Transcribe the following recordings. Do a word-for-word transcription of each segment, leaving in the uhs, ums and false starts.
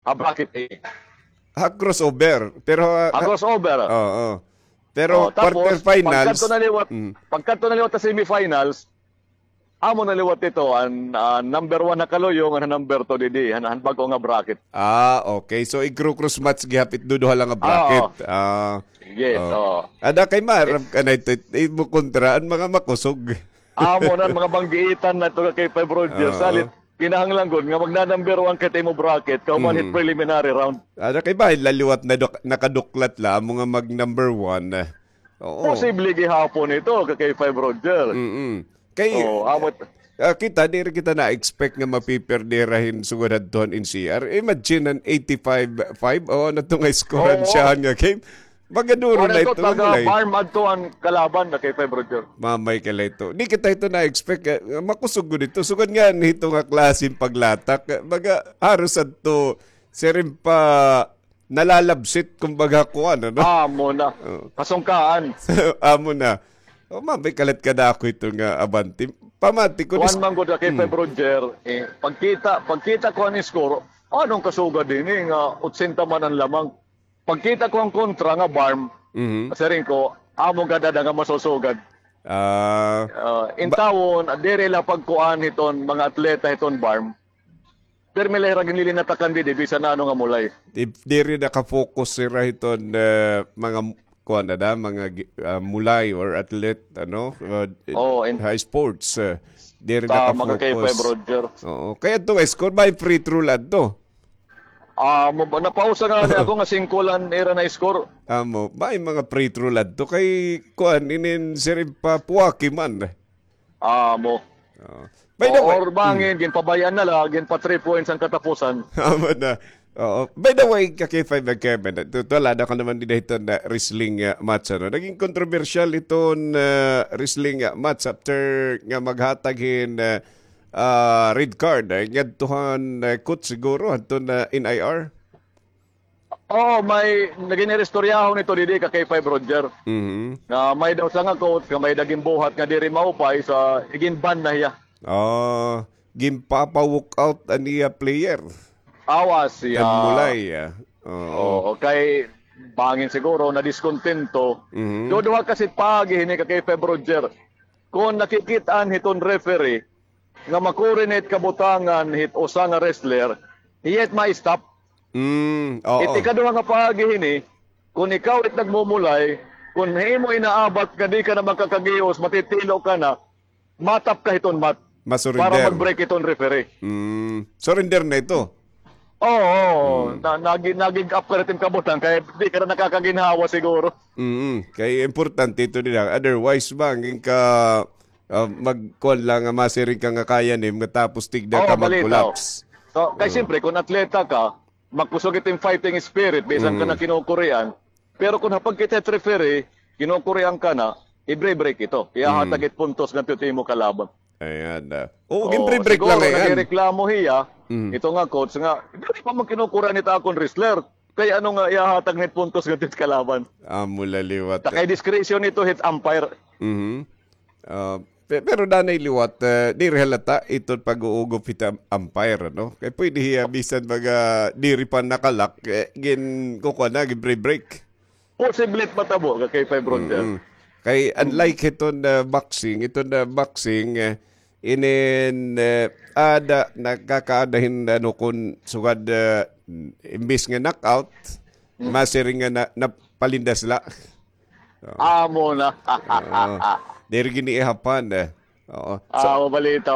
ah, bracket A. Ha crossover. Pero, ah, ah, crossover. Oo. Pero oh, tapos, quarterfinals, pagkadto na liwat, mm, pagkadto na liwat ha semifinals, amo na liwat ito, an, ah, number one ha Kaluyo, ngan number two didi, han, han bag-o nga bracket. Ah, okay. So, igkru-cross match gihap it duduha la nga bracket. Oo. Ah, yes, oo. Ada kay maaram ka na ito, imo kontra an mga makusog. Amo na an mga banggiitan na ito kay Five Roger. Oo. Salit, kinahanglan gud nga magna-number one ka hit imo bracket, kahuman hit preliminary round. Ada kay bahin la liwat na duk-, nakaduklat la, amo nga mag-number one. Oo. Posible gihapon ito, ka K five Roger. Mm-mm. Kay, oo, amo. Ah, kita, diri kita na-expect nga mapiperde hira hin sugad hadto han N C R. Imagine an eighty-five five, o, ano to nga score han siyahan nga game? Baga duro na ito nga mulay. Barm adto an kalaban, ka K five Roger. Mamay ka la ito. Di kita ito na-expect, eh, nga makusog gud ito. Sugad nga hito nga klase hin paglatak, eh, baga haros adto, siring pa nalalabsit, kumbaga, kuan, ano? Ah, amo na. Oo. Kasungkaan. Amo na. O, mamay ka la it kadako ito nga abante. Pamati ko, kuan man gud, ka K five Roger, eh, pagkita, pagkita ko an score, ano an kasugad hini nga otsenta man an lamang. Pagkita ko an kontra nga barm, siring ko, amo gad ada nga masusugad. Ah, intawon, diri la pagkuan hiton mga atleta hiton barm. Pirmi la hira ginlilinatakan didi, bisan ano nga mulay. Di-, diri naka-focus hira hiton, eh, mga kuan na da, mga gi-, ah, mulay or athlete, ano, ah, ha sports, eh, diri naka-focus. Tama ka kay Five Roger. Oo. Kay adto nga score, may free throw la adto. Ah, mo, napausa nga ni ako nga singko la an ira na-score. Amo, may mga free throw la adto kay kuan, inin siring pa puwaki man. Amo. Oo. By the way, or bangin, ginpabay-an na la, ginpa three points an katapusan. Amo na. Oo. By the way, ka K five and Kevin, tu-, tulad ako naman dida hiton, ah, wrestling, ah, match, ano. Naging kontrobersyal iton, ah, wrestling, ah, match after nga maghatag hin, ah, ah, red card, eh, ngadto han, eh, coach siguro, hadton, ah, N I R. Oo, may nagin iristoryahon ito didi ka K five Roger. Mhm. Nga may daw sanga coach nga may-ada ginbuhat nga diri maupay, sa iginban na hiya. Ah, ginpapa-walk out an iya player. Awas siya. Kan mulay, ah. Oo. Oo, kay bangin siguro nadiskuntento. Mhm. Duduha kasi paagi hini ka K five Roger. Kon nakikit-an hiton referee, nga ma-coordinate kabutangan hit usa nga wrestler, hiya it ma-stop. Mm, oo. It ikaduha nga paagi hini, kon ikaw it nagmumulay, kon himo inaabat nga di ka na makakagios, matitilo ka na, matap ka hiton mat para mag-break hiton referee. Mm, surrender na ito. Oo, oo. Na, nagi-, na-give up ka na it im kabutang, kay di ka na nakakaginhawa siguro. Mm, kay importante ito nila. Otherwise ba, hangin ka, ah, magkuan la nga masiring ka nga kaya nim, nga tapos tigda ka mag-collapse. So, kay siyempre, kon atleta ka, magkusog it im fighting spirit, bisan ka na kinukurian. Pero kon ha pagkita hit referee, kinukurian ka na, i-break ito. Ihahatag it puntos ngadto hit imo kalaban. Ayan, ah. Oo, ginbreak la ngay-an. Siguro nagreklamo hiya, ito nga coach nga, diri pa man kinukurian it akon wrestler. Kay ano nga ihahatag na it puntos ngadto hit kalaban? Amo la liwat. Ta kay discretion ito hit umpire. Mhm. Ah, pe-, pero danay liwat, eh, diri halata ito pag-uugop hit umpire, no? Kay pwede hiya bisan mga diri pa nakalak, eh, gin-, kukuha na, gin-break. Posible it matabo ka K five Roger. Mm-mm. Kay unlike hiton, ah, boxing, hiton, ah, boxing, eh, inin, eh, ada, nakakaada hin, ano, kon sugad, ah, imbis nga knockout, masiring nga na, napalindas la. Oo. Amo na. Oo. Diri gini ihapan, eh. Oo. So, ah, mabalita.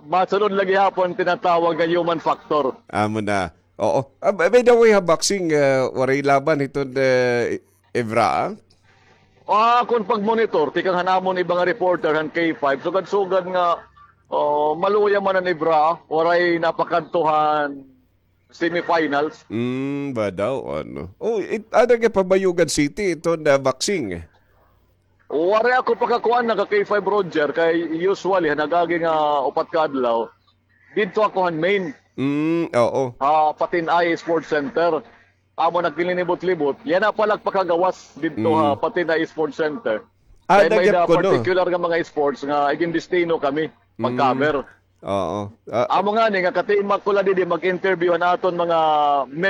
Masunod lagi hapon tinatawag nga human factor. Amo na. Oo. Ah, by, by the way, ha boxing, eh, waray laban hiton, eh, Evra, ah? Ah, akon pagmonitor, tikang han amon iba nga reporter han K five, sugad-sugad nga, oh, maluya man an Evra, waray napakadto han semifinals. Mm, ba daw, ano? Oh, it, ada ka Pabayugan City, ito na boxing. Waray ako pakakuan na ka K five Roger, kay usually, han nag-agi nga upat ka adlaw, didto ako han main. Mm, oo. Ah, Patinay Sports Center. Amo nagkilinibot-libot. Yana pa la pakagawas didto ha Patinay Sports Center. Ah, kay may-ada particular nga mga sports nga igindestino kami pag-cover. Oo. Ah, amo ngani nga katimak ko la didi mag-interview han aton mga